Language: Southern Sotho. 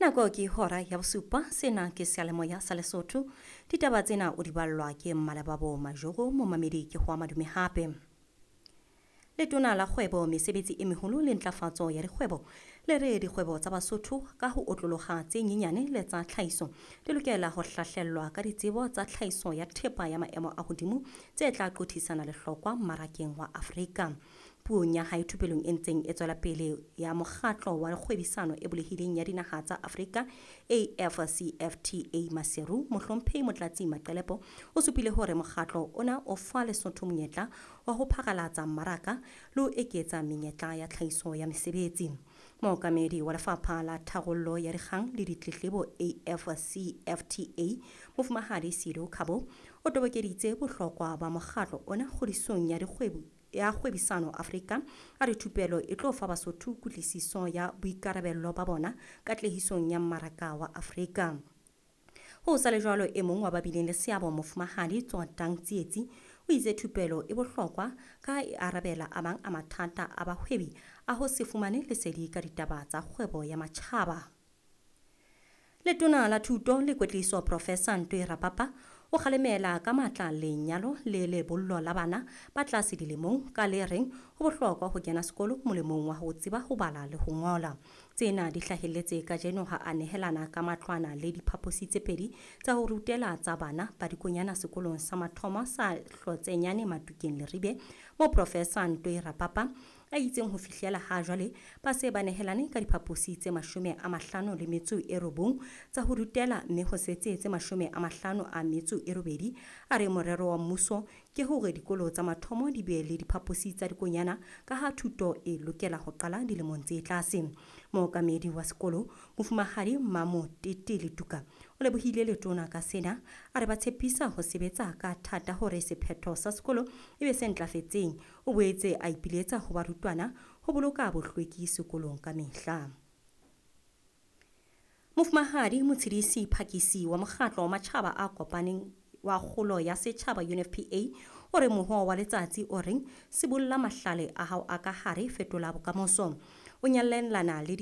Nako ke hora ya bosupa, sena ke seyalemoya sa Lesotho. Ditaba tsena o di ballwa ke Mmalebabo Majoro, momamedi ke ho madume hape. Letona la kgwebo, mesebetsi e meholo le ntlafatso ya dikgwebo le re dikgwebo tsa Basotho ka ho otloloha tse nyenyane le tsa tlhahiso di lokela ho hlahlellwa ka ditsebo tsa tlhahiso ya thepa ya maemo a hodimo tse tla qothisana lehlokwa mmarakeng wa Afrika. Puong ya hae thupelong e ntseng e tswela pele ya mokgatlo wa kgwebisano e bulehileng ya dinaha tsa Afrika AfCFTA Maseru, mohlomphehi Motlatsi Maqelepo o supile hore mokgatlo ona o fa Lesotho monyetla wa ho pharalatsa mmaraka le ho eketsa menyetla ya tlhahiso ya mesebetsi. Mookamedi wa lefapha la tharollo ya dikgang le ditletlebo AfCFTA, Mofumahadi Sido Khabo, o tobokeditse bohlokwa ba mokgatlo ona kgodisong ya dikgwebo ya kgwebisano Afrika. A re thupelo e tlo fa Basotho kutlwisiso ya boikarabello ba bona katlehisong ya mmaraka wa Afrika. Ho sa le jwalo, e mong wa ba bileng le seabo, Mofumahadi Tsotang Tsietsi, o itse thupelo e bohlokwa ka e arabela a mang a mathata a bahwebi a ho se fumane lesedi ka ditaba tsa kgwebo ya matjhaba. Letona la Thuto le Kwetliso Professor Ntwe Rapapa o kgalemela ka matla lenyalo le lebollo la bana ba tlase dilemong ka le reng ho bohlokwa ho kena sekolo molemong wa ho tseba ho bala le ho ngola. Tsena di hlahelletse kajeno ha a nehelana ka matlwana le diphaposi tse pedi tsa ho rutela tsa bana ba dikonyana sekolong sa mathomo sa Hlotsenyane Matukeng Leribe, mo Professor Ntwe Rapapa a itseng ho fihlela ha jwale ba se ba nehelane ka diphaposi tse 59 tsa ho rutela mme ho setse tse 58. A re morero wa mmuso ke hore dikolo tsa mathomo di be le diphaposi tsa dikonyana ka ha thuto e lokela ho qala dilemong tse tlase. Mookamedi wa sekolo, Mofumahadi Mamo Tete Letuka, o lebohile letona ka sena, a re ba tshepisa ho sebetsa ka thata hore sephetho sa sekolo e be se ntlafetseng. O boetse a ipiletsa ho barutwana ho boloka bohlweki sekolong ka mehla. Mofumahadi Motshidisi Phakisi wa mokgatlo wa matjhaba a kopaneng wa kgolo ya setjhaba UNFPA o re mohoo wa letsatsi o reng sibolla mahlale a hao a ka hare, fetola bokamoso o nyallelana le